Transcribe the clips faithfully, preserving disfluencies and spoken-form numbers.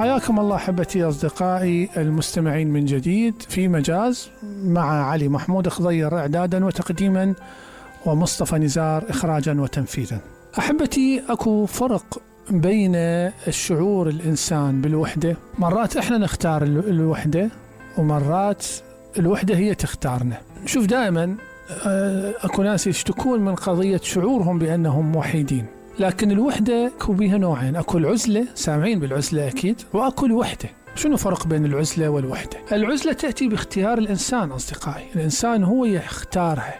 حياكم الله أحبتي أصدقائي المستمعين من جديد في مجاز مع علي محمود خضير إعدادا وتقديما ومصطفى نزار إخراجا وتنفيذا. أحبتي أكو فرق بين الشعور الإنسان بالوحدة. مرات إحنا نختار الوحدة ومرات الوحدة هي تختارنا. شوف دائما أكو ناس يشتكون من قضية شعورهم بأنهم وحيدين، لكن الوحدة أكو بيها نوعين، أكو العزلة، سامعين بالعزلة أكيد، وأكو الوحدة. شنو فرق بين العزلة والوحدة؟ العزلة تأتي باختيار الإنسان أصدقائي، الإنسان هو يختارها،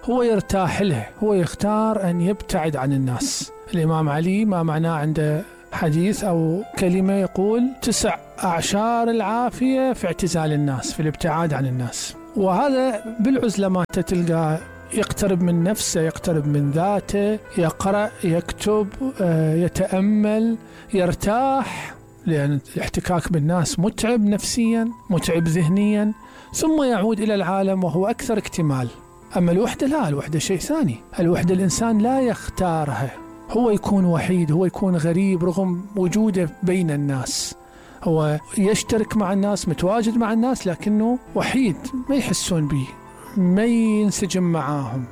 هو يرتاح لها، هو يختار أن يبتعد عن الناس. الإمام علي ما معناه عنده حديث أو كلمة يقول تسع أعشار العافية في اعتزال الناس، في الابتعاد عن الناس. وهذا بالعزلة ما تلقى يقترب من نفسه، يقترب من ذاته، يقرأ، يكتب، يتأمل، يرتاح، لأن الاحتكاك بالناس متعب نفسيا، متعب ذهنيا، ثم يعود إلى العالم وهو أكثر اكتمال. أما الوحدة لا، الوحدة شيء ثاني. الوحدة الإنسان لا يختارها، هو يكون وحيد، هو يكون غريب رغم وجوده بين الناس، هو يشترك مع الناس، متواجد مع الناس، لكنه وحيد، ما يحسون به، ما ينسجم معاهم.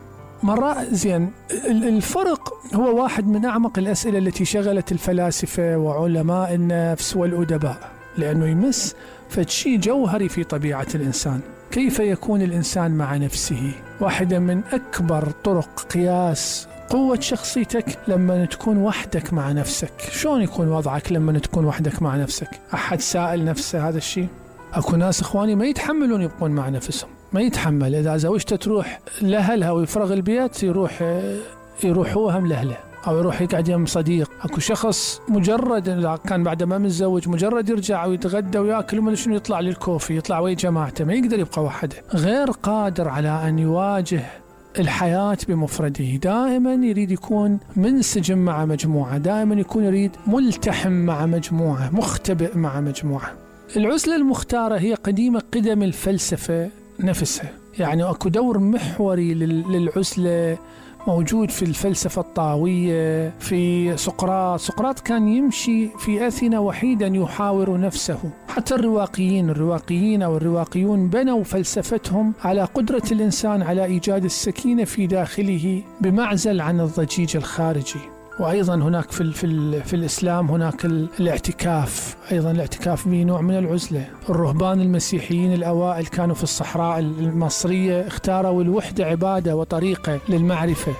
مرة زين الفرق هو واحد من أعمق الأسئلة التي شغلت الفلاسفة وعلماء النفس والأدباء، لأنه يمس فشي جوهري في طبيعة الإنسان. كيف يكون الإنسان مع نفسه؟ واحدة من أكبر طرق قياس قوة شخصيتك لما تكون وحدك مع نفسك. شلون يكون وضعك لما تكون وحدك مع نفسك؟ أحد سائل نفسه هذا الشيء؟ أكو ناس إخواني ما يتحملون يبقون مع نفسهم، ما يتحمل. إذا زوجته تروح لأهلها ويفرغ البيت يروح يروح هو هم لأهله، أو يروح يقعد يم صديق. أكو شخص مجرد كان بعد ما متزوج مجرد يرجع ويتغدى ويأكل وما شنو يطلع للكوفي، يطلع ويا جماعته، ما يقدر يبقى وحده، غير قادر على أن يواجه الحياة بمفرده. دائما يريد يكون منسجم مع مجموعة، دائما يكون يريد ملتحم مع مجموعة، مختبئ مع مجموعة. العزلة المختارة هي قديمة قدم الفلسفة نفسها، يعني أكو دور محوري للعزلة موجود في الفلسفة الطاوية، في سقراط. سقراط كان يمشي في أثينا وحيدا يحاور نفسه. حتى الرواقيين الرواقيين أو الرواقيون بنوا فلسفتهم على قدرة الإنسان على إيجاد السكينة في داخله بمعزل عن الضجيج الخارجي. وأيضا هناك في, في, في الإسلام هناك الاعتكاف، أيضا الاعتكاف به نوع من العزلة. الرهبان المسيحيين الأوائل كانوا في الصحراء المصرية، اختاروا الوحدة عبادة وطريقة للمعرفة.